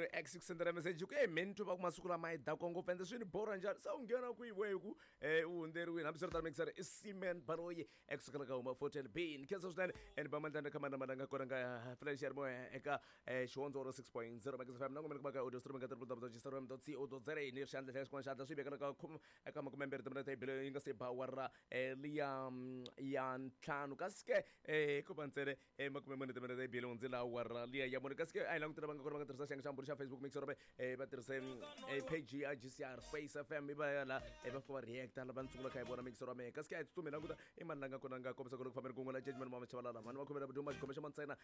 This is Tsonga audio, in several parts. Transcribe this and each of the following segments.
munhu x ku sendela message ku e mheni twa va ku masiku lama yi dakwa ngopfu ende swi ni borha njhani se u nghena kwihi we ku u hundzeriwile hambiswiritano mixer i seaman baloyi ekusukela ka huma 14 b ni khensa swinene and ba mandlana kha mana malanga kona nga flash ya moya eka xihondzo ro 6.0 Max FM na n'wina kuma ka audio streaming ka www.gcrm.co.za ni ri xandla xa xin'wana xandla swi vekela ka khume eka makumembirhi timinete yi bile yi nga se ba awara liya ya ntlhanu kasi ke ko va ntsena makumemune timinete yi bile hundzile awara liya ya mune kasi ke a hi langutela va nga kona va nga tirhisa xiyenge xa mbulu xa Facebook mixer va tirhise page ya GCR Space FM i va ya la va fika va reacta lava ni sungula kha hi vona mixer wa mehe kasi ke a hi tsutsumi hi languta i mani la nga kona nga kombisa ku ri ku fambeni kun'we la judgment mama chavalala mani va khomela vuduma xikhome xa mantsena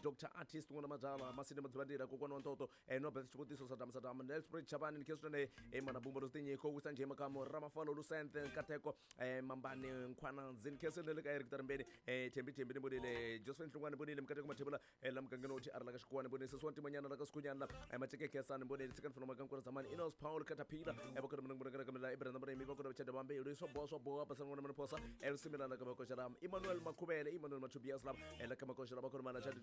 Dr Artist n'wana mabyala Masinde Madzivandila kokwana wa ntoto Nobert xivutiso Saddam Saddam Nelspruit Chavani ni khe swinene mana bumba ro tinyiko wisa njhe makamu Ramafalo Lusente Nkateko Mambani Nkhwana Ndzini khe swinene le ka Eric Tarimbeni Thembi Thembi ni vonile Josephine Hlungwani ni vonile Mikateko Mathebula la mugangeni wo TR la ka Xikuwani ni vonile Sesi wa Ntimanyana la ka Sikhunyana la Maceke Khensani ni vonile Tshikani Fana Makankura Zamani Inos Paul Caterpillar va kona munhu ka kamela Ibrahim Murimi va kona Chada Bambe swa boha swa boha Basana n'wana Maniphosa Lusimila la ka Makoxa la Emmanuel Makhuvele Emmanuel Machubias la la ka Makoxa la va kona mana Chada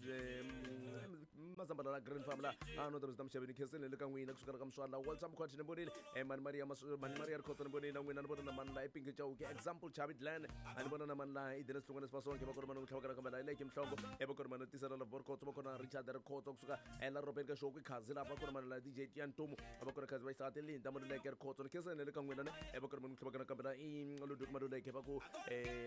Mazambala la Green Farm la ano ta Mr. Mshavini khensile le ka n'wina kusuka la ka Mswala Walter Mkhwati ni vonile Mani Maria Mani Maria Rikhotso ni vonile na n'wina ni vona na mani la Ipingi Chauke example Chavi Glenn a ni vona na mani la Idris Hlungwane Sifasonke va kona mani ku tlhavaka kambe la Leki Mhlongo va kona mani tisela la Borkhotso va kona Richard Rikhotso kusuka la Robert ka Shoku Khazi la va kona mani la DJ Tiantumu va kona Khazi va Isati Linda Maluleke Rikhotso ni khensile le ka n'wina ne va kona mani ku tlhavaka kambe la i Ludwig Maluleke va ku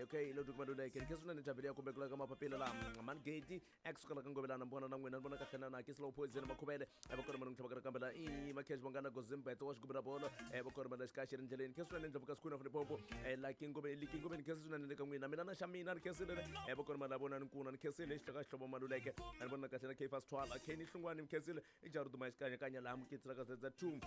okay Ludwig Maluleke ni khensile ni Javeli ya kumbe ku la ka mapapila la Mani Gate ekusuka la ka Ngovelana ni vona na n'wina ni vona kahle na na Slow Poison Makhuvele va kona mani ku tlhavaka kambe la i Makhesh Vangana Gozimbethe wa xigubela bolo va kona mani la xikaya xi ri ndleleni khensile ni ndlovu ka Sikhuna Limpopo la Kingome li Kingome ni khensile swinene le ka n'wina mina na xa mina ni khensile va kona mani la vona ni nkuna ni khensile xihloko xihlovo Maluleke a ni vona kahle na Kfas Twala Kenny Hlungwani ni khensile i Jarudu Maxikanyakanya laha mukitsi ra ka ZZ2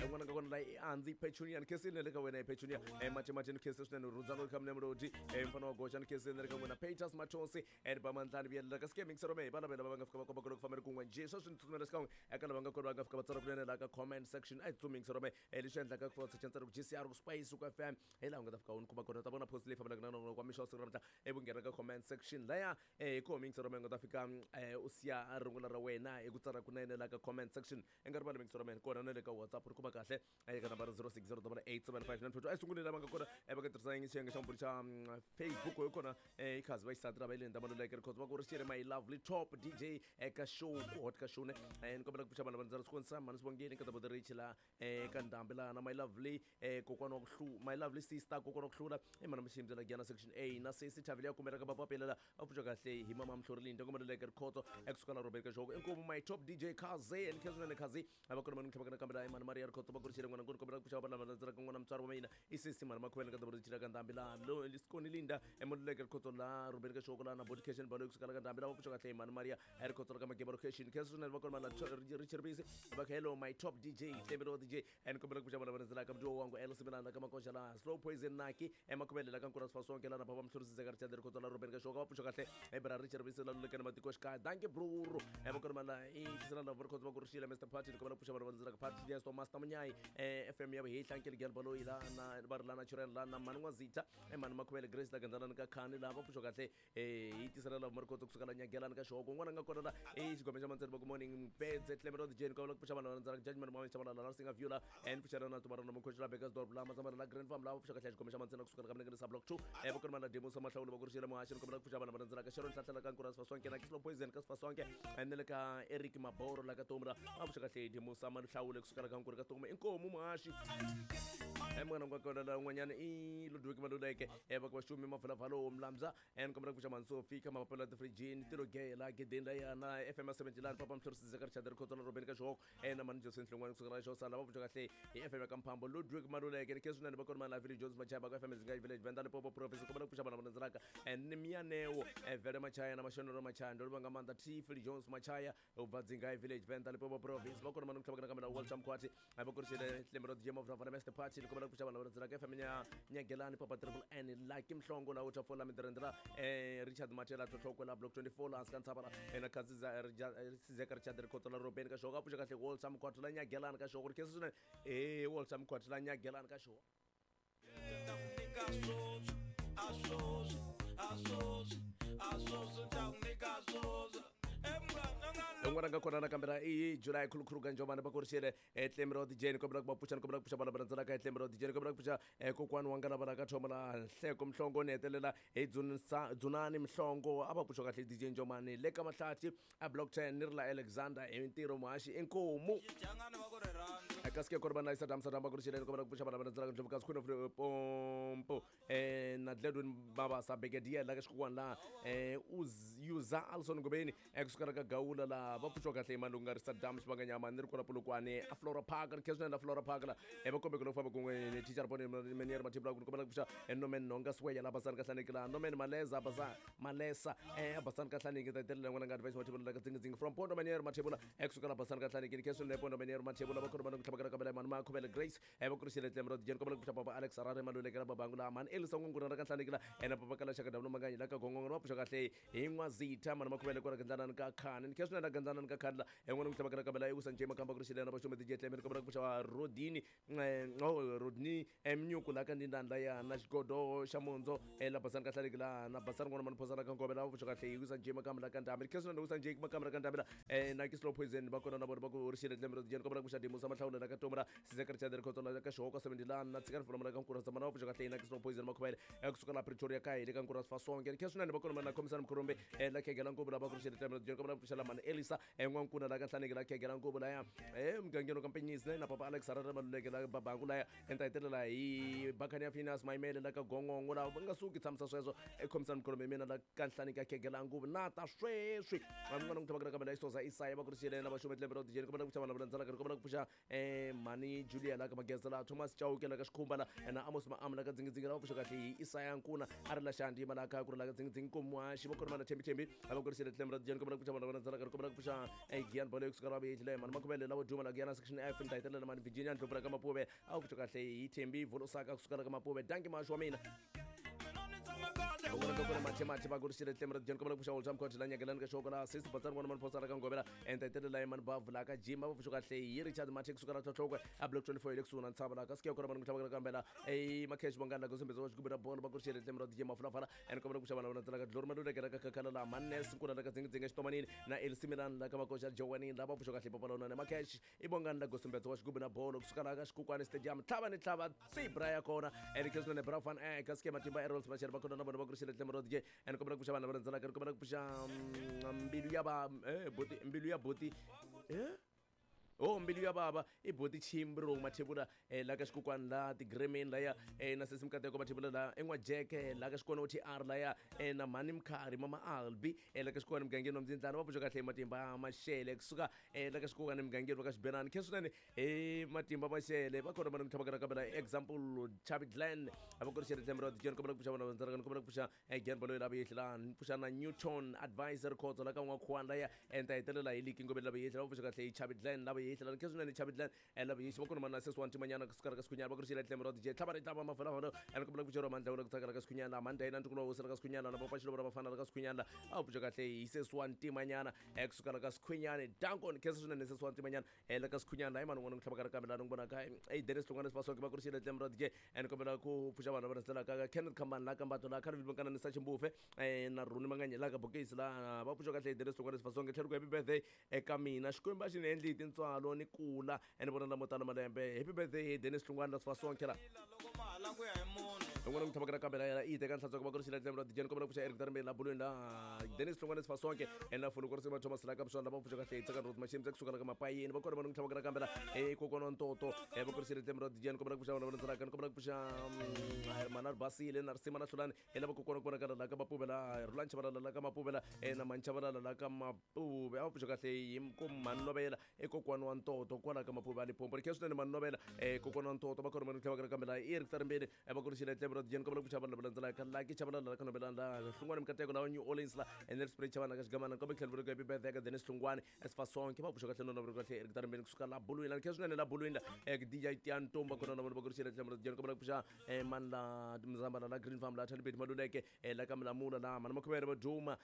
n'wana ka kona la i Andzi Petunia ni khensile le ka wena i Petunia Mache Mache ni khensile swinene Rudzano kha mune Mlodi mfana wa goxa ni khensile le ka n'wina Peters Mathonsi ri ba mandlani vuyelela ka ske mixer me vana vela va nga fika va komba ku loko famberi kun'we njhe sweswi ni tsutsumela xikan'we eka lava nga kona va nga fika va tsala kunene laha ka comment section a hi tsutsumi mixer me leswi endlaka ku fa tsara ku GCR ku Spice ku FM hi laha u nga ta fika u ni kuma kona ta vona post leyi fambelaka na nongonoko wa mixo wa siku ra namuntlha ivi u nghena ka comment section laya hi koho mixer me u nga ta fika u siya rungula ra wena hi ku tsala kunene laha ka comment section i nga rivali mixer me kona na le ka WhatsApp ri kuma kahle eka nambara 06087592 a hi sunguleni lava nga kona va nga tirhisa xiyenge xa mbulu xa Facebook hi kona i khazi va xisati ra va le Maluleke Rikhotso va ku ri xiri my lovely top DJ eka show ku hot ka show ne ni kombela ku pfuxa vanhu va ndzela swikonisa mhani sibongile ka tabuti rich la ka ndhambi laha na my lovely kokwana wa ku hlu my lovely sister kokwana wa ku hlula i mhani miximbi la Giyana section A na sesi Thavile ya kumela ka papapela la va pfuxa kahle hi mama Mhlori Linda Maluleke Rikhotso ekusuka la Robert Kajoko inkomu my top DJ Khazi ni khensa swinene Khazi a va kona mani ku tlhavaka nakambe laha mhani Maria Rikhotso va ku ri xile n'wana nkulu kombela ku pfuxa vanhu lava landzelaka n'wana mutswari wa mina i sesi mhani Makhuvele ka tabuti rich la ka ndhambi laha lo Sikoni Linda Maluleke Rikhotso la Robert Kajoko la na body cation balo kusuka la ka ndhambi lava pfuxa kahle hi mhani Maria Rikhotso la ka Mageba location khensa swinene va kona mani Richard Bisi va hello my top DJ Tlemelo DJ and kombela ku pfuxa vanhu lava landzelaka mdyo wangu El Simelana ka Makoxa la Slow Poison Naki Emakhuvele la ka Nkura Sifasonke la na Baba Mhlorisi Zeka Richard Rikhotso la Robert Kajoko va pfuxa kahle bra Richard Bisi la Lulekana matiko xikaya dankie bruru va kona mani la i tisela la Rikhotso va ku ri xile Mr Party ni kombela ku pfuxa vanhu lava landzelaka Party Yes Master Munyai FM ya Vuhehla Nkele Gel Baloyi la na va ri la Natural la na Mani N'wazitha Mani Makhuvele Grace la Gandalani ka Khani laha va pfuxa kahle hi tisela la Rikhotso kusuka la Nyagelani ka Xihoko un'wana a nga kona la i xigome xa Mantseni va ku morning Pedze Tlemelo DJ ni kombela ku pfuxa vanhu lava landzelaka Judgment Mama Chabalala la Singa View la and pfuxela na Tumarana Mukhoxi la Bekkersdorp la Mazambana la Grand Farm la va pfuxa kahle xigome xa Mantseni kusuka la ka Mlengeni sa Block 2 va kona la Demo sa Mahlawulo va ku ri xile muhaxi ni kombela ku pfuxa vanhu lava landzelaka Sharon Hlahla la ka Nkura Sifasonke na Kislo Poison ka Sifasonke and le ka Eric Maboro la ka Tomra va pfuxa kahle Demo sa Mahlawulo kusuka la ka Nkura ka Toma inkomu muhaxi munghana wa kona la un'wanyana i Ludwig Maluleke va ku vaxumi Mavulavalo Mlamza ni kombela ku pfuxa mhani Sophie ka mapapila tifrijini tilo ge la gedeni la yana FM ya 70 lani Papa Mhlorisi Zeka Richard Rikhotso la Robeni ka Xihoko na mhani Josephine Hlongwane kusuka la Xhosa lava pfuxa kahle hi FM ya ka Mphambo Ludwig Maluleke ni khensa swinene va kona mani la Village Jones Machaya va ka FM Zinga Village Venda Limpopo Province kombela ku pfuxa vanhu lava landzelaka ni Miyaneo Vele Machaya na Mashonelo Machaya ndo livanga maanḓa T Phil Jones Machaya u bva Dzingai Village Venda Limpopo Province va kona mani ku tlhavaka nakambe na Walter Mkhwati va ku ri Tlemelo DJ Mavravana Master Party ni kombela ku pfuxa vanhu lava landzelaka FM ya Nyagelani Papa Triple N Lucky Mhlongo la Uthafola Midirendela Richard Matela Tlhotlhoko la Block 24 la hansi ka ntshava la na Khansi Sizeka Richard Rikhotso la Robeni ka Xihoko a pfuxa kahle Walter Mkhwati la Nyagelani ka Xihoko ri khensa swinene Walter Mkhwati la Nyagelani ka Xihoko Un'wana nga kona nakambe la i July Khulukhulu Ganjomani va kurixile Tlembe ra DJ ni kombela ku va pfuxa, ni kombela ku pfuxa vana va landzelaka Tlembe ra DJ, ni kombela ku pfuxa kokwani wa nga lava ka thoma la Nhleko Mhlongo, ni hetelela hi Dzunani Mhlongo, a va pfuxa kahle DJ Njomani le ka Mahlathi a Block 10, ni ri la Alexander hi ntirho muhaxi inkomu. Kasi ke kona vana Sadam Sadam va kurixile, ni kombela ku pfuxa vana va landzelaka Ndlovu kasi Queen of Pompo na Gladwin Mabasa Brigadier la ka xikukwana la Uza Alson Ngobeni kusukela ka Gawula la va pfuxiwa kahle hi mani loko nga ri Saddam Xivanganyama, ni ri kwala Polokwane a Flora Park, ri khensa la Flora Park la va kombeke loko famba kun'we ni teacher Bone Menier Mathibula, ku kombela ku pfuxa Norman Nhonga Sweya la Basani Kahlaniki la Norman Maleza Basa Malesa Basani Kahlaniki, ta hetelela n'wana nga advice Mathibula la ka Dzingi from Pondo Menier Mathibula kusuka la Basani Kahlaniki, ni khensa le Pondo Menier Mathibula va khona va ku tlhavakela ka mani Makhuvele Grace va kurixile Tlembe ra DJ, ni kombela ku pfuxa Papa Alex Harare Maluleke la Babangu la mani Elisa N'wanguna ra ka Nhlaniki la na Papa Kala Xaka W Manganyi la ka Gongongo, va pfuxa kahle hi N'wazitha mani Makhuvele kwala Gandlanani ka Khani, ni khensa na Gandlanani ka Khani la n'wana ku tlhavakela ka bela i Usa Nje Makamba kurixile na Vaxome DJ Tlembe, ni kombela ku pfuxa Rodini Rodney Mnyuku la ka Ndindani la ya na Xigodo xa Mundzo la Basani ka Hlaleki la na Basani n'wana mani Phosa la ka Ngove la va pfuxa kahle hi Usa Nje Makamba la ka Ndhambi, ni khensa na Usa Nje Makamba la ka Ndhambi la na Ki Slow Poison va kona na vona va ku rixile Tlembe ra DJ, ni kombela ku pfuxa Dimusa Mahlawula la ka Tomra Sizeka Richard Rikhotso la ka Xihoko 70 la na Tshikani Fuloma la ka Nkura Zamana va pfuxa kahle na Ki Slow Poison Makhuvele kusuka la Pretoria ka hi le ka Nkura Sifasonke, ni khensa na va kona na Khomisana Mkhurumbe la Khegela Nkubu la va ku rixile Tlembe ra DJ, ni kombela ku pfuxa la mani Elisa N'wankuna la ka Nhlaneki la Khegela Nkubu la ya mugangeni ka Mpenyisi na Papa Alex Harare Maluleke la Babangu la ya ta hetelela hi Bakani ya Phineas Maimele la ka Gongongo la va nga suki tshamisa sweswo Khomisana Mkhurumbe mina la ka Nhlaneki ya Khegela Nkubu na ta sweswi van'wana ku tlhavakela ka bela Isoza Isaya va ku rixile na Vaxome Tlembe ra DJ, ni kombela ku pfuxa vana va landzelaka, ni kombela ku pfuxa Mani Julia la ka Mageza la Thomas Chauke la ka Xikhumba la na Amos Maamu la ka Dzingi la va pfuxa kahle hi Isaya Nkuna a ri la Xandima la ka ku ri la ka Dzingi Komuhaxi va khona na Thembi Thembi a va ku rixile Tlembe ra DJ, ni kombela ku pfuxa vana va landzelaka, ni kombela ku pfuxa Gian Bolo kusuka la Vuyetile mani Makhuvele la Duma la Giyana section F, ni ta hetelela mani Virginia Ndlopfu la ka Mapuve a va pfuxa kahle hi Thembi Volosaka kusuka la ka Mapuve, danki maxi wa mina. Un'wana ka kona Mathe Mathe va ku rixile Tlembe ra DJ, ni kombela ku pfuxa Old Time Court la Nyakelani ka Xoko la Sesi Batsani n'wana mani Phosa la ka Ngovela ta hetelela hi mani Bavu la ka Jim va pfuxa kahle hi Richard Mathe kusuka la Tlhotlhokwe a Block 24 hi le kusuhi na Ntshava la ka Sikeyo kona mani ku tlhavakela kambela Makhesh Bongani la ka Sumbedza wa Xigubu na Bolo va ku rixile Tlembe ra DJ Mafulafala ni kombela ku pfuxa vana va landzelaka Glory Maluleke la ka Khakhala la Manes Nkuna la ka Dzingi Xitomanini na Elsie Milan la ka Makoxa Jowanini la va pfuxa kahle Papa Lona Makhesh i Bongani la Gosumbedza wa Xigubu na Bolo kusuka la ka Xikukwani Stadium tlhava ni tlhava tsibra ya kona ni khensa na Bra Van ka Sike Matimba Errol Macheri va kona na vona va ku rixile Tlembe ra DJ, ni kombela ku pfuxa vana va landzelaka, ni kombela ku pfuxa mbilu ya va buti mbilu ya buti oh mbilu ya bava i buti Chimbro Mathebula la ka Xikukwani la Tigremeni laya na Sesi Mkateko Mathebula la En'wajeke la ka Xikwana OTR laya na Mhani Mkhari Mama Albi la ka Xikukwani mugangeni wa Mdzindlana va pfuxa kahle hi Matimba Mashele kusuka la ka Xikukwani mugangeni wa ka Xibenani, khe swinene hi Matimba Mashele va kona vana ku tlhavakela ka bela example Chavi Glenn a va kurixele Tlembe ra DJ, ni kombela ku pfuxa vana va landzelaka, ni kombela ku pfuxa Gian Baloyi la Vuyehli la ni pfuxa na Newton Advisor Khotso la ka N'wakhuwani laya ta hetelela hi Liki Ngobeni la Vuyehli va pfuxa kahle hi Chavi Glenn la Vuyehli la khe swinene Chavi Glenn la Vuyehli va kona na Sesi wa Ntimanyana kusuka la ka Sikhunyana va kurixile Tlembe ra DJ tlhava ri tlhava mafalafala ni kombela ku pfuxa Mandla la ku tsakela ka Sikhunyana la Mandla na Ntukulo wa Hosi la ka Sikhunyana la Papa Xilovo la Vafana la ka Sikhunyana a pfuxa kahle hi Sesi wa Ntimanyana kusuka la ka Sikhunyana dankon khe swinene Sesi wa Ntimanyana la ka Sikhunyana hi mani n'wana ku tlhavaka kambe la ni ku vonaka Dennis Hlongwane Sifasonke va kurixile Tlembe ra DJ, ni kombela ku pfuxa vanhu va landzelaka ka Kenneth Khambani la ka Mbato la Kharivil Mankana ni Sachi Mbufe na Runi Manganye la ka Bokisi la va pfuxa kahle Dennis Hlongwane Sifasonke tlhela ku happy birthday eka mina Xikwembu a xi ni endli hi tintswalo ni kula ni vona lamo tala malembe, happy birthday Dennis Hlongwane la Sifasonke la n'wana ku tlhavaka kambe la yena i teka nhlantswa va kurixile Tlembe ra DJ, ni kombela ku pfuxa Eric Darmbeni la Bulweni la Dennis Hlongwane Sifasonke na Fulu Korisima Thomas la ka Buswana va pfuxa kahle hi Tsakani Rose Machimbe kusuka la ka Mapayeni va kona vanhu ku tlhavaka kambe la kokwana wa Ntoto va kurixile Tlembe ra DJ, ni kombela ku pfuxa vanhu va landzelaka, ni kombela ku pfuxa Manar Basile na Risima na Hlulani lava kokwana ku vonakala la ka Mapuve la Rulani Chabalala la ka Mapuve la na Mani Chabalala la ka Mapuve a va pfuxa kahle hi ku Mani Novela i kokwana wa Ntoto kwala ka Mapuve a Limpopo, ri khe swinene Mani Novela kokwana wa Ntoto va kona vanhu ku tlhavaka kambe la Eric Tarimbeni va kurixile Tlembe ra DJ, ni kombela ku pfuxa vanhu lava landzelaka Lucky Chabalala la ka Nobelani la Hlungwane Mikateko la New Orleans la Nelspruit Chavana ka Xigamana ni kombela ku tlhela ku happy birthday ka Dennis Hlungwane Sifasonke va pfuxa kahle nona kahle Eric Tarimbeni kusuka la Bulwini la khe swinene la Bulwini la DJ Tian Ntomba kona na vona va kurixile Tlembe ra DJ, ni kombela ku pfuxa mani la Mzambala la Green Farm la Thalibeti Maluleke la ka Milamula la mani Makhuvele va Duma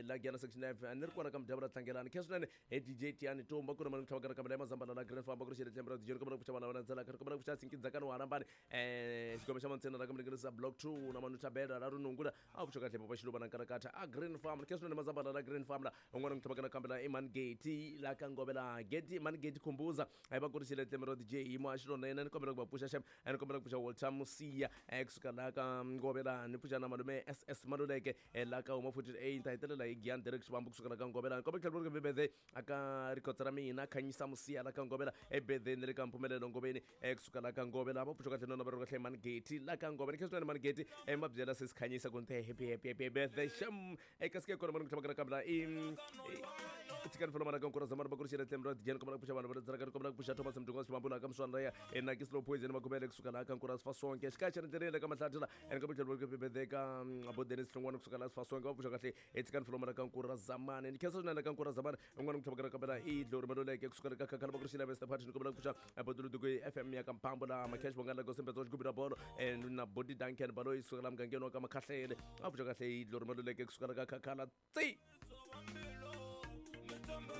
la Giyana section 9 ni ri kwala ka Mudyavula Tlangelani khe swinene DJ Tiani Ntomba kona mani ku tlhavaka kambe la Mazambala la Green Farm va kurixile Tlembe ra DJ, ni kombela ku pfuxa vana va landzelaka, ni kombela ku pfuxa Sinkidzakani wa Harambani xigome xa Mantsena la ka Milengeni Maphorisa Block 2 na Manu Thabela la Runungula a pfuxa kahle papa Xiluva na Nkarakatha a Green Farm. Ni khensa swinene Mazambala la Green Farm la un'wana n'wi tlhavaka nakambe la i Mani la ka Ngovela Geti Mani Geti Khumbuza a va kurisile tleme ro DJ yimo a xilona ni kombela ku va pfuxa xem a ni kombela ku pfuxa Walter Musiya kusuka la ka Ngovela ni pfuxa na malume SS Maluleke la ka huma 48 ni ta hetelela hi Gian Derek Xivambu kusuka la ka Ngovela. Ni kombela ku tlhela ku ri birthday aka rikotsa ra mina Khanyisa Musiya la ka Ngovela ebirthday ni le ka Mpfumelelo Ngoveni kusuka la ka Ngovela. Va pfuxa kahle nona va ri kahle Mani Geti la ka Ngovela. Ni khensa swinene Mani Geti ma byela sesi Khanyisa ku ni te happy happy happy birthday xem kasi ke kona mani ku tlhavaka nakambe la i tshikani folo mara ka nkura zamani va kurixile tlem ra dijeni kombela ku pfuxa vanhu va dzaraka ni kombela ku pfuxa Thomas Mdunga Xivambu la ka Mswana ya na ki slow poison makhubele kusuka la ka nkura Sifasonke xikaya xa ndleleni le ka Mahlathi la ene kombela ku tlhela birthday ka abo Dennis Hlongwane kusuka la Sifasonke va pfuxa kahle tshikani folo mara ka nkura zamani. Ni khensa swinene ka nkura zamani un'wana ku tlhavaka nakambe la i Dlori Maluleke kusuka le ka Khakhala va kurixile Mr Party ni kombela ku pfuxa Boduluduku FM ya ka Mphambo la Macash Bongana la Gosembedzo xigubu ra bolo na Body Duncan Baloyi kusuka la mugangeni wa ka Makhahlele a pfuxa kahle i Dlori Maluleke kusuka la ka Khakhala tsi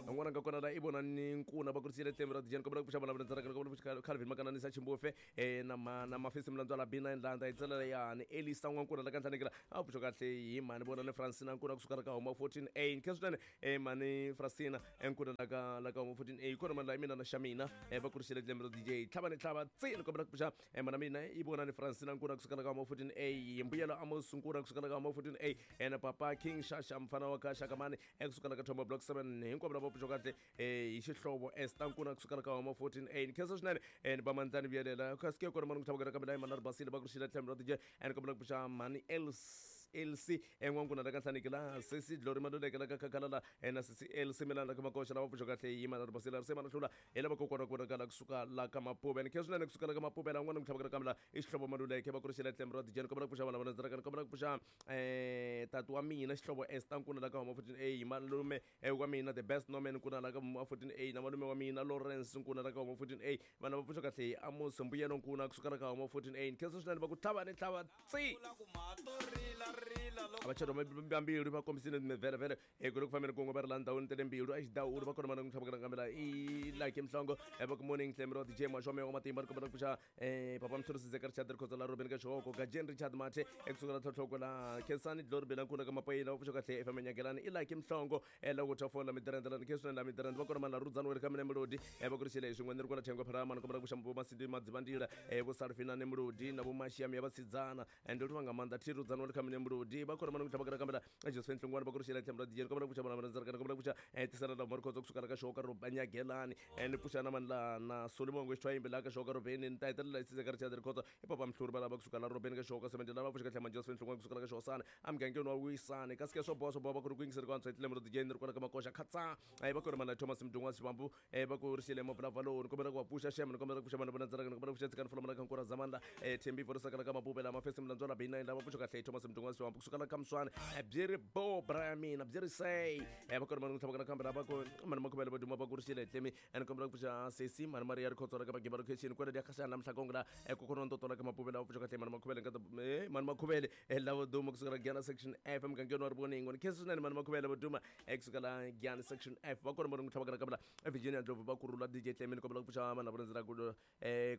un'wana nga kona la i vona ni nkuna va kurisile tlemi ra dijeni kombela ku pfuxa vana ndzaraka kombela ku pfuxa Calvin Makananisa Chimbofe na ma na Mafisi Mlandzwa la B9 la nda itsela yani Elisa n'wankuna la ka Nhlanekela a pfuxa kahle hi mhani vona ni Francina nkuna kusuka la ka huma 14A ni khensa swinene mhani Francina nkuna la ka huma 14A kona mani la i mina na xa mina va kurisile tlemi ra DJ tlhava ni tlhava tsi ni kombela ku pfuxa mana mina i vona ni Francina nkuna kusuka la ka huma 14A Mbuyelo Amos nkuna kusuka la ka huma 14A na papa King Shasha mfana wa ka Shakamani kusuka la ka Thombo Block 7 hinkwavo lava pfuxa kahle hi xihlovo Esther nkuna kusuka la ka huma 14A ni khensa swinene ni ba mandzani vuyelela kasi ke kona mani ku tlhavaka kambe la i mana ri basile va kurixile tlhelo ra DJ ni kombela ku pfuxa mhani Els n'wankuna la ka Nhlaneki la sesi Glory Maluleke la ka Khakhala la na sesi Elsie Milana la ka Makoxa lava pfuxa kahle hi mana ri basile ri se mana hlula hi lava kokwana ku vonakala kusuka la ka Mapuve. Ni khensa swinene kusuka la ka Mapuve la n'wana ku tlhavaka kambe la i Xihlovo Maluleke va kurixile tlhelo ra DJ ni kombela ku pfuxa vana va ndzaraka ni kombela ku pfuxa tati wa mina Xihlovo Esther nkuna la ka huma 14A malume wa mina the best Norman nkuna la ka huma 14A na malume wa mina Lawrence nkuna la ka huma 14A vanhu va pfuxa kahle hi Amos Mbuyelo nkuna kusuka la ka huma 14A ni khensa swinene va ku tlhava ni tlhava tsi vachado vambirhi va kombisile vhele ku le ku fambeni kun'we va ri la ndhawini ta le mbilu a xidawulu va kona mana ku tlhavaka nakambe la i like Mhlongo va ku morning tlemi ra DJ Maxome wa matimba ni kombela ku pfuxa papa Mhluri Sizeka Richard Rikhotso la Robin ka Xihoko Gajen Richard Mathe ekusuka la Tlhotlhoko la Khensani Glory Belankulu ka Mapayila va pfuxa kahle FM Nyakelani i like Mhlongo la ku thafola midirende la ni khensa la midirende va kona mana Rudzani wa le ka mina Melody va kurixile hi swin'we ni ri kwala Thengwe Pharama ni kombela ku pfuxa vo Masindi Madzivandila vo Sarfina ni Melody na vo Mashiam ya vasidzana ende ri va nga maanḓa thi Rudzani wa le ka mina Melody va kona mana ku tlhavaka nakambe la Josephine Hlongwane va kurixile tlhelo ra DJ ni kombela ku pfuxa vana va ndzaraka ni kombela ku pfuxa tisela la Marikhotso kusuka la ka Xoka ro Banyagelani ni pfuxa na mani la na Solomon Xitwayimbi la ka Xoka Robeni ni ta hetelela hi Sizeka Richard Rikhotso i papa Mhluri va lava kusuka la Robeni ka Xoka 70 lava pfuxa kahle Josephine Hlongwane kusuka la ka Xosana emugangeni wa Wisani kasi ke swo boha swo boha va ku ri ku yingiseri ku antswa hi tlhelo ra DJ ni ri kwala ka Makoxa Khatsa va ku ri mana Thomas Mdungwa Xivambu va ku rixile Mavulavuloni ni kombela ku va pfuxa xem ni kombela ku pfuxa vana va ndzaraka ni kombela ku pfuxa tshikani fula ka Nkura Zamani Thembi Vorisaka la ka Mapupe la Mafesi Mlandzwa la B9 lava pfuxa kahle Thomas Mdungwa Xivambu kusuka la ka Mswana byi ri bo bra mina byi ri say va ku ri mana ku tlhavaka nakambe lava ku mani makhubele va duma va ku rixile tlemi ni kombela ku pfuxa sesi mani Maria Rikhotso la ka Magiba location kwela dia khashana mhlakongo la kokona ntoto la ka Mapupe lava pfuxa kahle mani makhubele nkata mani makhubele lava duma kusuka la Gyana section F mugangeni wa Rivoningo ni khensa swinene mani makhubele va duma kusuka la Gyana section F va kona mani ku tlhavaka nakambe la Virginia Ndlovu va kurhula DJ Tlemi ni kombela ku pfuxa vanhu lava rhandzela ku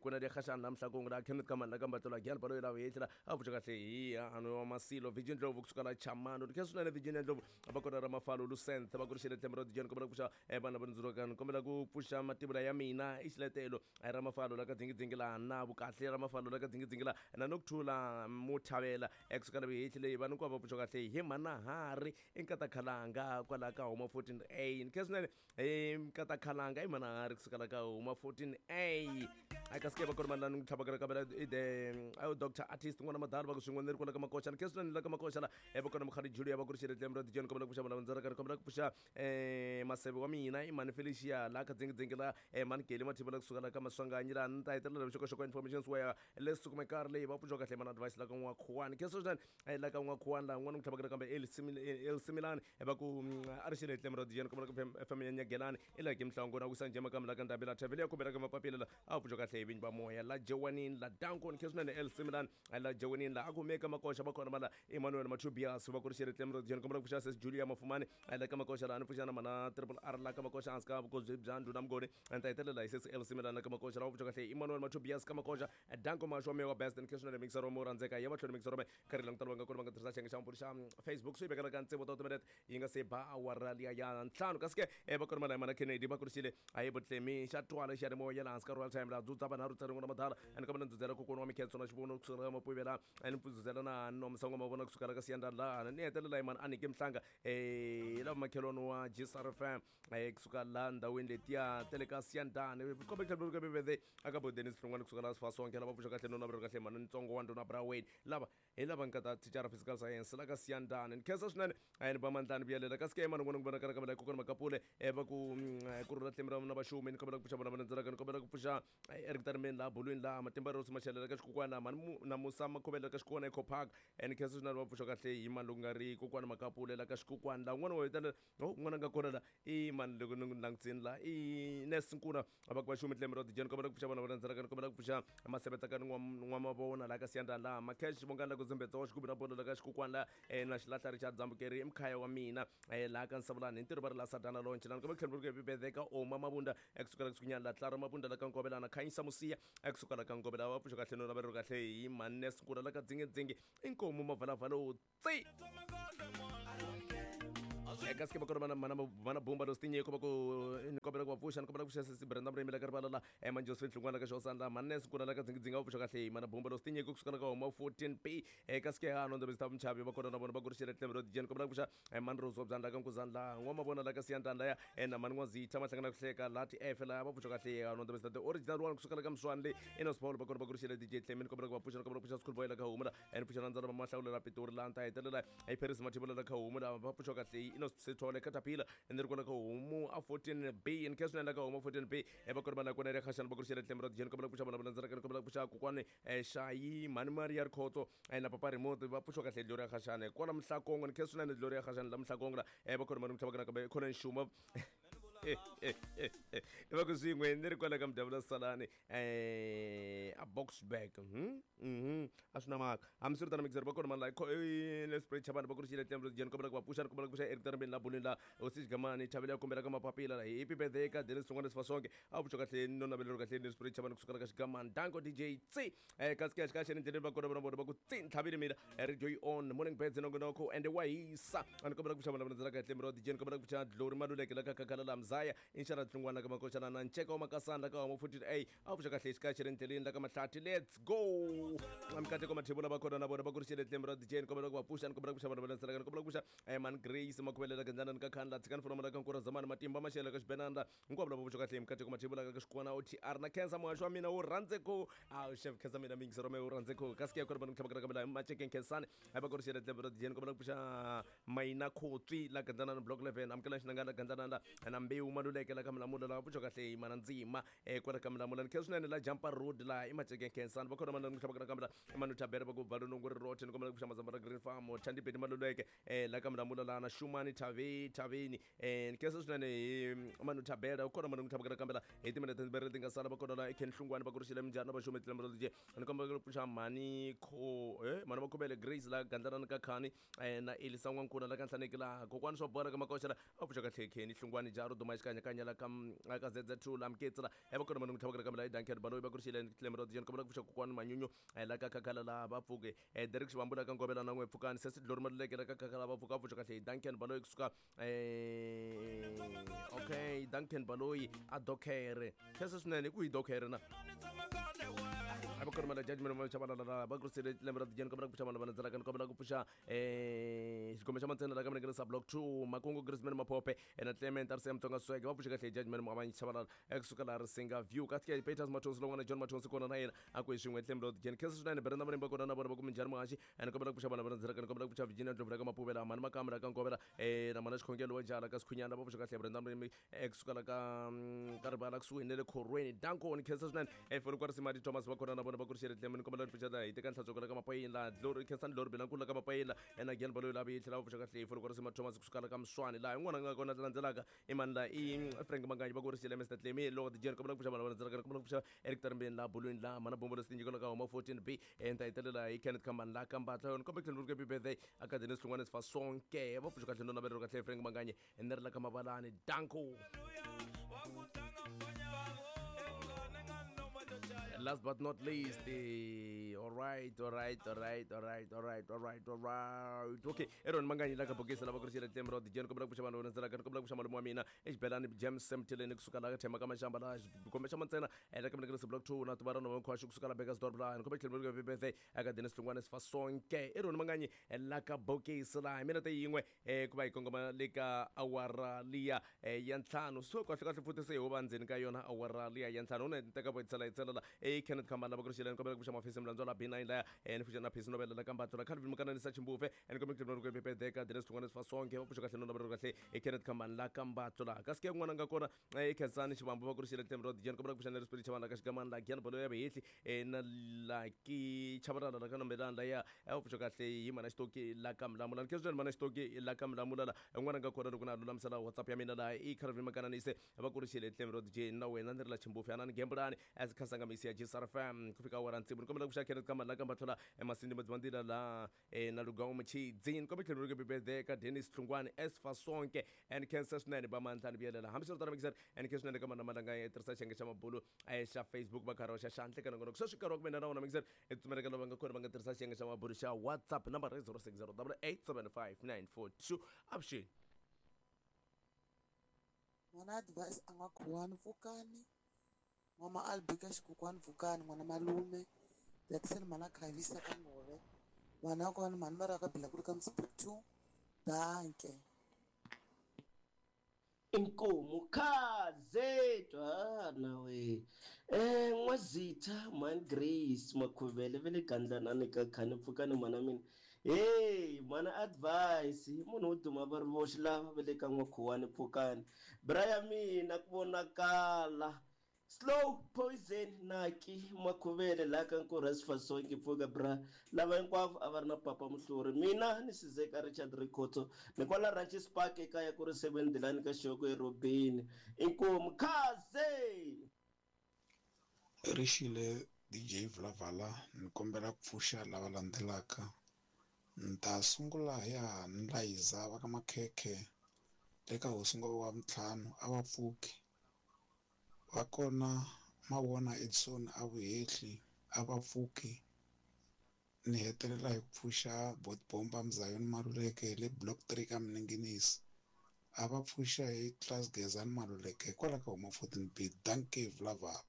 kuna dia khashana la mhlakongo la Kenneth Kamani la ka Mbatlo la Gyana Baloyi la yehla a pfuxa kahle hi ano wa Masilo Virginia Ndlovu kusuka la Chamano ni khensa swinene Virginia Ndlovu va kona ra Mafalo Lucent va ku rixile tlemi ra DJ ni kombela ku pfuxa vanhu lava rhandzela ni kombela ku pfuxa mativula ya mina i xiletelo ra Mafalo la ka dzingidzingi la na vukahle ra Mafalo la ka dzingidzingi la na Nokuthula Muthavela ekusuka la vihehli leyi vanhu hinkwavo va pfuxa kahle hi Manahari i Nkatakhalanga kwala ka huma 14A ni khensa swinene Nkatakhalanga i Manahari kusuka la ka huma 14A a kasi ke va kona mani la ni tlhavaka nakambe i the Dr Artist n'wana madala va ku swin'we ni ri kwala ka Makoxa ni khensa swinene la ka Makoxa la va kona Mukhali Julia va ku rixile tlemi ra DJ ni kombela ku pfuxa vana ndzaraka ni kombela ku pfuxa Maseve wa mina i mani Felicia la ka dzingidzingi la mani Geli Mathiva la kusuka la ka Maswanganyi la ni ta hetelela vuxokoxoko information wa leswi kumekaka leyi va pfuxiwa kahle mana advice la ka N'wakhuwani khensa swinene la ka N'wakhuwani la n'wana ku tlhavaka nakambe Elsimilani va ku a ri xile tlemi ra DJ ni kombela ku FM ya Nyagelani i la ke Mhlango na wisa njhe makambe la ka Ndhambi la Thavele ya khumbela ka mapapila la a pfuxiwa kahle hi vinyi va moya la Jewanini la Danko ni khensa swinene Elsimilani la Jewanini la a kumeka Makoxa va kona mala Emmanuel Machubias va ku ri xere Tlemro John kombela ku pfuxa Sis Julia Mafumani la ka Makoxa laha ni pfuxa na mana Triple R la ka Makoxa hansi ka vukosi bya ndhuna Mngoni ni ta hetelela hi Sis Elsie Milana ka Makoxa lava pfuxa kahle Emmanuel Machubias ka Makoxa Danko Masho Mewa Best and Kesho na mixer romo rhandzeka ya mahlweni mixer rome karhi langutana va nga kona va nga tirhisa xiyenge xa mpfula xa Facebook swi vekela ka ntsevo ta timinete yi nga se ba awara liya ya ntlhanu kasi ke va kona mana mana Kennedy va kurisile a yi butlemi xa twala xiyanimoya laha hansi ka Royal Time laha dzudza vanharhu tsarin'we na madala and kambe ni dzudzela kokwana wa Mikhenso na xivono kusukela ka Mapuvela and ni dzudzela na Nomsa N'wamavona kusukela ka Siyanda laha ni hetelela hi mani Aniki Mhlanga lava makhelwani wa GSRFM kusuka laha ndhawini letiya ta le ka Siyandani kombe tlhelo aka bo Dennis Hlongwane kusuka laha Sifasonke lava pfuxa kahle nona vuri kahle mhani ntsongo wa ndhuna Braweni lava hi lava nga ta thicara physical science la ka Siyandani ni khensa swinene a ni ba mandlani vuyelela kasi ke mani n'wana ku vonakala ka kokwana Makapule va ku ku rhula tlemi ra na vaxumi ni kombela ku pfuxa vona va landzelaka ni kombela ku pfuxa Eric Tarimeni laha bolweni laha matimba Rose Mashelela ka xikukwana mhani na Musa Makhuvela ka xikukwana Eco Park ni khensa swinene va pfuxa kahle hi mani loko nga ri kokwana Makapule la ka xikukwana laha un'wana wa hetelela oh un'wana a nga kona la i mani loko ni n'wi langutisini la i Nes Nkuna va ku vaxumi tlemi ra dijeni kombela ku pfuxa vona va landzelaka ni kombela ku pfuxa masebetsakani n'wamavona laha ka Siyandhani laha Macash Vongani la ku Zimbedza wa xigubu na bolo la ka xikukwana la na xilahla Richard Dzambukeri i mkhaya wa mina laha ka Nsavulani hi ntirho va ri la Sadana Lonche la ni kombela ku tlhela ku happy birthday ka Oma Mabunda ekusuka la kusukunyana la Tlaro Mabunda la ka Nkovelana Khanyisa Musiya ekusuka la ka Nkovela va pfuxa kahle no laveriwa kahle hi Mannes Nkuna la ka Dzingedzingi inkomu Mavalavala tsi eka sike va kona mana mana bomba lo stinyeko va ku ni kombela ku va pfuxa ni kombela ku pfuxa sesi Brenda Murimi la ka rivala la Emma Josephine Hlungwana ka Xosana la Mannes Nkuna la ka Dzingidzinga va pfuxa kahle mana bomba lo stinyeko kusuka la ka homa 14P eka sike ha no ndzi ta mchavi va kona na vona va ku rixele tlhelo ro dijeni kombela ku pfuxa Mani Rose wa Byandla ka Nkuzani la N'wamavona la ka Siyandlani laya na Mani N'wazitha Mahlangana ku hleka la ti F la va pfuxa kahle ha no ndzi the original one kusuka la ka Mswani le Enos Paul va kona va ku rixele DJ Tlemi ni kombela ku va pfuxa ni kombela ku pfuxa School Boy la ka Homu la ni pfuxa na Ndzalama Mahlawula la Pitori la ta hetelela hi Paris Mathibula la ka Homu la va pfuxa kahle Enos Sithole Caterpillar ni ri kwala ka Homu a 14B ni khensa swinene la ka Homu 14B va kona va la kona ri khaxana va ku rixele tlemi ra dijeni kombela ku pfuxa vona va landzelaka ni kombela ku pfuxa kokwani Shayi Mhani Maria Rikhotso na Papa Remote va pfuxiwa kahle Gloria Khashane kwala Mhlakongo ni khensa swinene Gloria Khashane la Mhlakongo la va kona mani mtlhavakana kambe khona nxuma va ku swin'we ni ri kwala ka Mudavula Salani a Boksburg a swi na mhaka hambiswiritano mixer va kona mani la Lesbridge Chavani va ku ri xile tlembro jeni kombela ku va pfuxa ni kombela ku pfuxa Eric Tarambeni la bolweni la hosi Xigamani Chavela ya kombela ka mapapila la happy birthday ka Dennis Hlongwane Sifasonke a pfuxa kahle no navelelo kahle Lesbridge Chavani kusuka la ka Xigamani danko DJ tsi kasi ke xikaxeni endleleni va kona vona vona va ku tsi ntlhavile mina radio yi on morning birds nongonoko and wa hisa a ni kombela ku pfuxa vona vona kahle miro DJ ni kombela ku pfuxa Glory Maluleke la ka Kakala la Mzaya Inshara Tlungwana ka Makoxana na Nceka wa Makasana la ka Homo 14A a pfuxa kahle xikaxeni endleleni la ka Mahlathi let's go Mikateko Mathebula va kona na vona va ku ri xile tlemi ra DJ ni kombela ku va pfuxa ni kombela ku pfuxa vona vona ni kombela ku pfuxa Man Grace Makhubelela ka Ndlana ni ka Khandla Tshikani Furoma la ka Nkura Zamani Matimba Maxele ka Xibenanda hinkwavo lava pfuxa kahle Mikateko Mathebula ka Xikwana OTR na Khensa muhaxi wa mina wo rhandze ku a chef Khensa mina mingisi rome wo rhandze ku kasi ke kona vanhu tlhava ka Macheke Nkhensani a va ku ri xile tlemi ra DJ ni kombela ku pfuxa Mayina Khotswi la Gandlana na Block 11 amukela Xinanga la Gandlana la na Mbewu Maluleke la ka Milamula la pfuxa kahle Mana Ndzima kwala ka Milamula ni khensa swinene la Jampa Road la i Macheke Nkhensani va kona vanhu tlhava ka la Manu Thabela va ku Valunungu ri rote ni kombela ku pfuxa Mazamba ra Green Farm Thandi Bedi Maluleke la ka Milamula la na Shumani Thave Thaveni ni khensa swinene hi Manu Thabela u kona manu tlhava ka la hi timinete timbirhi leti nga sala va kona la Ken Hlungwani va ku ri xile minjhani na vaxumi tlembe ro ni kombela ku pfuxa Mhani Kho Mhani Makhuvele Grace la Gandlana ka Khani na Elisa N'wankuna la ka Nhlaneki la kokwani swa bola ka Makoxa la a pfuxa kahle Kenny Hlungwani Jaro Duma xikanyakanya la ka ka ZZ2 la Mketsi la va kona manu tlhava ka la Duncan Baloyi va ku ri xile tlembe ro ni kombela ku pfuxa kokwani Manyunyu la ka Khakhala la va pfuke Derek Xivambu la ka Ngovela na n'we pfukani Sesi Glory Maluleke la ka Khakhala va pfuka pfuxa kahle Duncan Baloyi kusuka okay Duncan Baloyi a dokhere khensa swinene ku hi dokhere na a va kona judgment va chavalala va ku ri lembe ra dijeni kombela ku pfuxa vanhu va landzelaka ni kombela ku pfuxa xigome xa mantsena la ka minengele sa block 2 Makungu Grisman Maphophe na Clement RCM Tsonga Swege va pfuxa kahle judgment Muavanyi Chavalala ekusuka laha Risinga View kasi ke Peters Mathonsi lowun'wana John Mathonsi kona na yena a ku hi swin'we tlhelo ra dijeni khensa swinene Brenda Marimba kona na vona va ku minjhani muhaxi ni kombela ku pfuxa vanhu va landzelaka ni kombela ku pfuxa Virginia Ndlovu la ka Mapuvela Mhani Makamu la ka Ngovela na Mhana Xikhongelo wa Jala ka Sikhunyana va pfuxa kahle Brenda Marimba ekusuka la ka ka rivala kusuhi na le khorweni danko ni khensa swinene Folokwa Risimati Thomas va kona na vona va ku ri xeretleme ni kombela ni pfuxeta hi teka nhlatsweko la ka mapayila Glory Khensani Glory Bilankulu la ka mapayila and again baloyi lavi yi tlhela va pfuxa kahle hi folo ku ri Sima Thomas kusuka la ka Mswani laha yin'wana nga kona landzelaka i mani la i Frank Manganyi va ku ri xile Mr Tlemi loko DJ ni kombela ku pfuxa vanhu lava landzelaka ni kombela ku pfuxa Eric Tarimbeni laha Bulwini laha Mhana Bombo Lesi Tinyiko la ka Homa 14B ni ta hetelela hi Kenneth Khambani la ka Mbatla yona kombe tlhelo happy birthday aka Dennis Hlungwane Sifa Sonke va pfuxa kahle no navelelo kahle Frank Manganyi ni ri la ka Mavalani danko. Last but not least, all right, all right, all right, all right, all right, all right, all right. Okay, Aaron Manganyi la ka bokisi lava ku ri xile Tlem Rod Jen kombela ku pfuxa vanhu va landzelaka ni kombela ku pfuxa malume wa mina exibelani James Semtileni kusuka la ka Thema ka Mashamba la kombe xa mantsena la ka Mlekele Block 2 na Tubarano va Nkhwaxu kusuka la Bekkersdorp la ni kombela tlhelo happy birthday aka Dennis Hlungwane Sifa Sonke Aaron Manganyi la ka bokisi la hi minete yin'we ku va hi kongoma le ka awara liya ya ntlhanu. So kahle kahle futhi se ho va ndzeni ka yona awara liya ya ntlhanu. Une teka vo tsela tselela e Kenneth Khambana va ku ri xileni kombela ku pfuxa mafisi mlandzwa la B9 laya ni pfuxa na Phisi Nobel la Kambatlo la Calvin Mukananisa Chimbufe ni kombela ku tlhela ku Pedeka Dennis Hlungwane Sifa Sonke va pfuxa kahle no navelo kahle e Kenneth Khambana la Kambatlo la. Kasi ke n'wana nga kona e Khensani Xivambu va ku ri xileni Tlem Rod Jen kombela ku pfuxa na Spirit Chavana ka Xigamani la Gian Bolo ya Vehehli na Lucky Chabalala la ka Nombelani laya va pfuxa kahle hi mana Xitoki la ka Mlamula. Ni khensa mana Xitoki la ka Mlamula la n'wana nga kona loko na lulamisela WhatsApp ya mina laha i Calvin Makananise va ku ri xile Tlem Rod J na wena ni ri la Chimbufe anani gembulani as khasanga misi ya GSRFM ku fika awara ntsibu. Ni kombela ku pfuxa Kenneth Kamani la ka Mbatlhola emasindi Madzivandila la na Lugawu Muchidzi. Ni kombela tlhelo ri birthday ka Dennis Hlungwani as Fasonke and khensa swinene ba mandla ni vuyelela. Hambiswiritano mixer and khensa swinene ka mana malanga ya tirhisa xiyenge xa mabulu xa Facebook va karhi va xa xandla ka nongonoko. Sweswi nkarhi wa ku mina na wona mixer i tsumeleka lava nga kona va nga tirhisa xiyenge xa mabulu xa WhatsApp number i 060 8875942. Avuxeni. N'wana advice a nga khuwani pfukani n'wama Albika xikokwani pfukani n'wana malume Jackson mhana khavisa ka ngove vana kona mhani va ra ka bila ku ri ka msipri 2 danke. Inkomu khaze twana we N'wazitha mhani Grace Makhuvele ve le Gandlanani ka khani pfukani mhana mina hey mhana advice hi munhu wo duma va ri voxe lava ve le ka N'wakhuwani pfukani bra ya mina ku vonakala slow poison naki Makhuvele la ka Nkurha Sifasonke pfuka bra lava hinkwavo a va ri na papa muhluri mina ni Sizeka Richard Rikhotso ni kwala Ranches Park ekaya ku ri 7 Dilani ka Xoko eRobeni inkomu khaze. Rixile DJ Vulavala ni kombela ku pfuxa lava landzelaka. Ni ta sungula hi ya ni Layiza va ka Makhekhe eka hosi Ngove wa ntlhanu a va pfuki. Va kona Mavona Edson a Vuhehli a va pfuki. Ni hetelela hi ku pfuxa Bot Bomba Mzayoni Maluleke le Block 3 ka Mninginisi. A va pfuxa hi Class Gezani Maluleke hikwalaho ka huma 14B. Dankie Vulavala.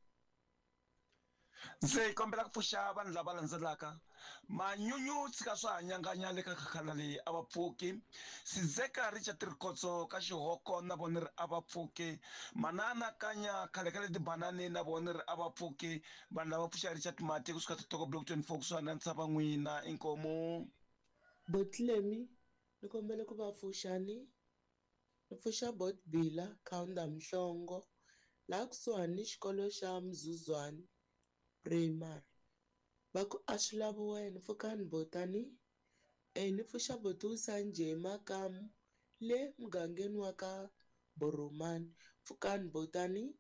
Ndzi kombela ku pfuxa vanhu lava landzelaka. Manyunyu tshika swa hanyanganya le ka khakhala leyi a va pfuki. Sizeka Richard Rikhotso ka Xihoko na vona ri a va pfuki. Manana Kanya khale ka le Tibanani na vona ri a va pfuki. Vanhu lava pfuxa Richard Mati kusuka Totoko Block 24 kusuhani na Ntshava n'wina inkomu. Botlemi ni kombela ku va pfuxani. Ni pfuxa Bot Bila Kaunda Mhlongo laha kusuhani ni xikolo xa Mzuzwane Primary. Va ku a swi lavi wena pfukani botani. Ni pfuxa Botusa Njhe Makamu le mugangeni wa ka Boromani pfukani botani.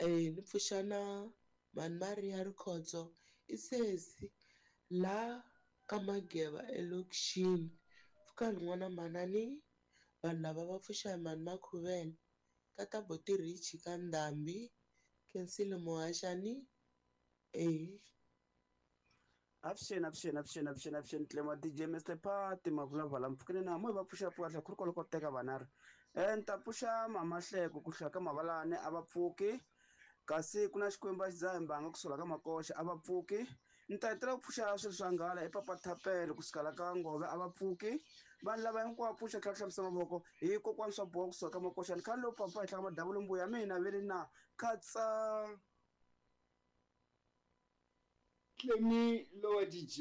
Ni pfuxa na Mhani Maria Rikhotso i sesi la ka Mageva elokixini pfukani n'wana manani. Vanhu lava va pfuxa hi Mhani Makhuvele ka ta Boti Richi ka Ndhambi Khensile Muhaxani. Avuxeni avuxeni avuxeni avuxeni avuxeni Tlema DJ Mr Party Mavulavala mpfukeni na mo va pfuxa pfuka ku ri kwalo ko teka vanharhu. Ni ta pfuxa Mama Hleko ku hlaya ka Mavalani a va pfuki. Kasi ku na Xikwembu a xi dzaha mbanga kusuka ka Makoxa a va pfuki. Ni ta hetelela ku pfuxa swilo swa nghala i Papa Thapelo kusuka la ka Ngove a va pfuki. Vanhu lava hinkwavo pfuxa tlhela hlambisa mavoko hi kokwani swa boha kusuka ka Makoxa. Ni khale lowu papa henhla ka madavula mbuya mina ve ri na khatsa. Tlemi lowa DJ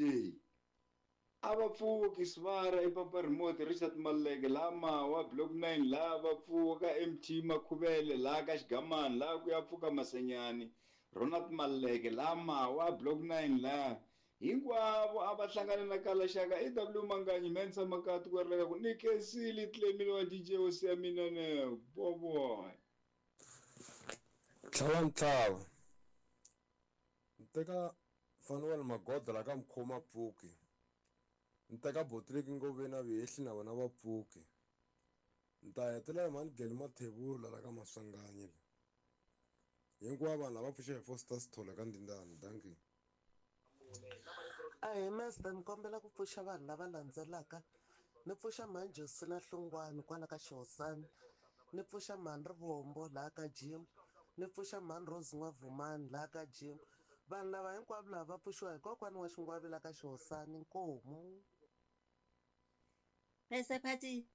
a va pfuki Svara i Papa Remote Richard Maluleke la Mawa Block 9 la va pfuka MT Makhuvele la ka Xigamani la ku ya pfuka Masenyani. Ronald Maleke laha Mawa block 9 laha hinkwavo a va hlangane na kalaxaka i W Manganyi Mensa Makati ku ri ku ni khensile Clemile wa DJ hosi ya mina ne boboy. Tlhava ntlhava ni teka Fanuel Magoda la ka Mkhoma Pfuki, ni teka Botliki Ngove na Vehehli na vona va Pfuki, ni ta hetelela hi mhani Geli Mathebula la ka Maswanganyi la. Hinkwavo vanhu lava pfuxa hi Foster Sithole ka Ndindani. Dankie. Ahee master, ni kombela ku pfuxa vanhu lava landzelaka. Ni pfuxa mhani Josina Hlongwane kwala ka Xihosana, ni pfuxa mhani Rivombo laha ka Jim, ni pfuxa mhani Rose N'wavhumani laha ka Jim. Vanhu lava hinkwavo lava va pfuxiwa hi kokwani wa Xingwavi la ka Xihosana. Inkomu. Mr Phathi,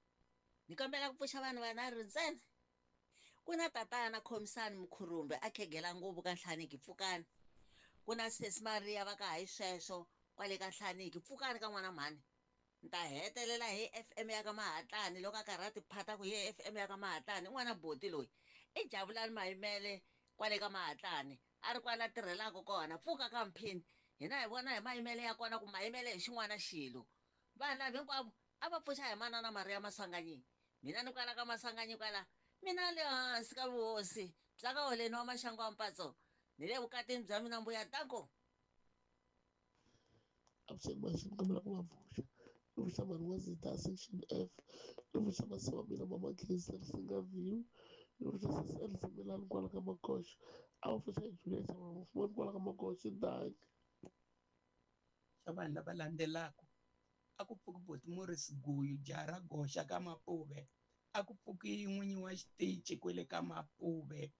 ni kombela ku pfuxa vanhu vanharhu ntsena. Ku na tatana Khomisani Mukhurumbe a khegela nguvu ka Nhlaniki pfukani. Ku na sesi Maria va ka hayi sweswo kwale ka Nhlaniki pfukani ka n'wana mhani. Ni ta hetelela hi FM ya ka Mahatlani loko a karhi a tiphata ku hi FM ya ka Mahatlani i n'wana boti loyi. I Javulani Mayimele kwale ka Mahatlani a ri kwala tirhelaka kona pfuka ka Mphini. Hina hi vona hi mayimele ya kona ku mayimele hi xin'wana xilo. Vanhu lava hinkwavo a va pfuxa hi manana Maria Maswanganyi. Mina ni kwala ka Maswanganyi kwala mina le hansi ka vuhosi bya ka Holeni wa Maxangu wa Mpatso ni le vukatini bya mina mbuya danko. Avuxeni maxini kombela ku va pfuxa. Ni pfuxa mhani wa Zita section F, ni pfuxa masi wa mina mama Khensa Risinga View, ni pfuxa sesi Elsie Milani kwala ka Makoxo, a va pfuxa hi Juliet Mafumani kwala ka Makoxo. Dankie. Xa vanhu lava landzelaka a ku pfuki Boti Morris Guyu jaha ra goxa ka Mapuve, a ku pfuki n'winyi wa xitichi kwele ka Mapuve,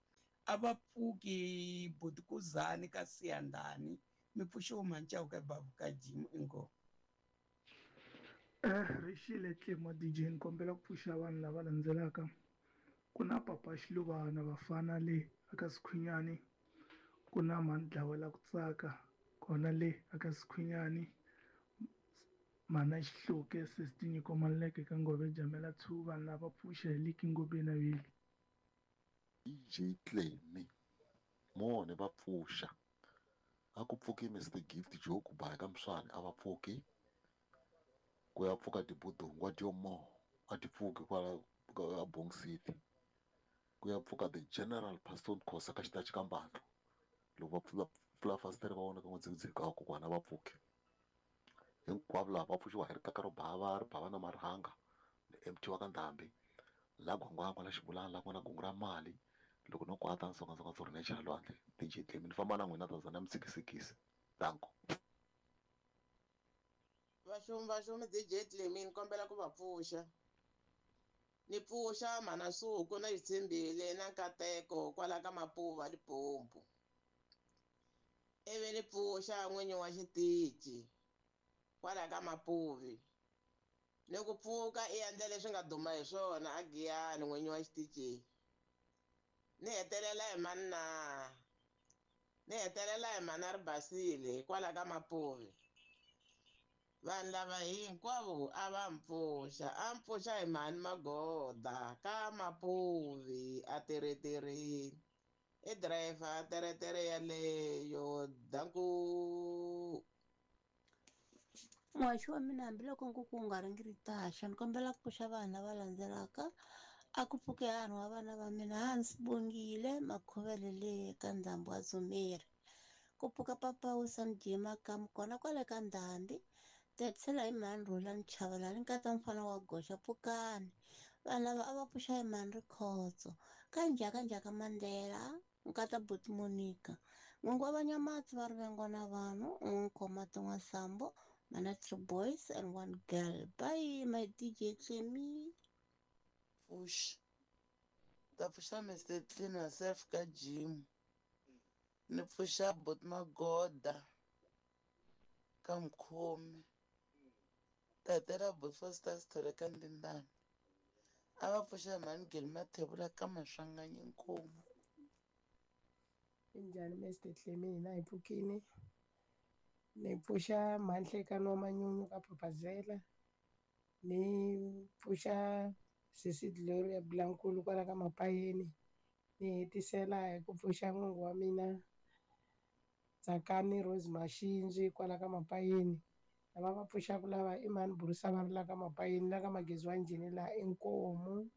a va pfuki Boti Kuzani ka Siyandhani, mi pfuxiwa Mancawu ka Bavu ka Jim inkomu. Rixile Tlemo DJ ni kombela ku pfuxa vanhu lava landzelaka. Ku na Papa Xiluvana vafana le aka Sikhwinyani, ku na Mhani Dlawela ku tsaka kona le aka Sikhwinyani, Mhana Xihluke Sesi Tinyiko Maluleke ka Ngove Jamela 2 vanhu lava pfuxa hi Liki Ngobeni na Vili. DJ Clemi mone va pfuxa a ku pfuki Mr Gift Joe ku ba ka Mswani a va pfuki ku ya pfuka tibudungwa dyomo a ti pfuki kwala ka Bong City ku ya pfuka the General Pastor Khosa ka xitachi ka Mbandlo loko va pfula pfula fasitere va vona ka n'wedzikudziki ka kokwana va pfuki hinkwavo lava va pfuxiwa hi rikaka ro bava ri bava na marhanga ni MT wa ka Ndhambi la gwangwangwa la xibulana la ku nga na gungu ra mali loko no kwata ni songasonga tsoro ni ya chela lwandle DJ Clemi ni famba na n'wina Tanzania mi sikisikisi danko. Vaxumi vaxumi DJ Clemi ni kombela ku va pfuxa. Ni pfuxa mhana Suku na Xitshembile na Nkateko kwala ka Mapuva Limpopo. Ivi ni pfuxa n'winyi wa xitichi kwala ka Mapuvi. Ni ku pfuka i endla leswi nga duma hi swona a Giyani n'winyi wa xitichi. Ni hetelela hi mani na? Ni hetelela hi mhana Ribasile kwala ka Mapuvi. Vanhu lava hinkwavo a va mpfuxa, a mpfuxa hi mhani Magoda ka Mapuvi a tereterini. I driver teretere yaleyo danku. Muhaxi wa mina hambiloko nkuku wu nga ringi ri taxa ni kombela ku pfuxa vanhu lava landzelaka. A ku pfuke hanhu wa vana va mina Hans Bongile Makhovele le ka Ndhambi wa Dzumeri. Ku pfuka papa Wilson Jima ka kona kwale ka Ndhambi. Tatisela hi mhani Rhulani Chavalala nkata mfana wa goxa pfukani. Vanhu lava a va pfuxa hi mhani Rikhotso. Ka njhaka njhaka Mandela nkata Buti Monica. N'wingi wa Vanyamatsi va Rivengo na vanhu, n'wi khoma tin'wa Sambo, mana 3 boys and 1 girl. Bye my DJ Clemi. Pfuxa. Ta pfuxa Mr Clean herself ka gym. Ni pfuxa Bot Magoda ka Mkhomi. Ta hetela Bot Foster Sithole ka Ndindani. A va pfuxa mhani Geli Mathebula ka Maswanganyi Nkomu. Njhani Mr Clemi, hina hi pfukini. Ni pfuxa Mhanhlekano wa Manyunyu ka Phaphazela. Ni pfuxa Sesi Gloria Blankulu kwala ka Mapayeni. Ni hetisela hi ku pfuxa n'wingi wa mina Tsakani Rose Mashinji kwala ka Mapayeni. Lava va pfuxaka lava i mhani Burusa va ri la ka Mapayeni la ka Magezi wa Njhini laha inkomu.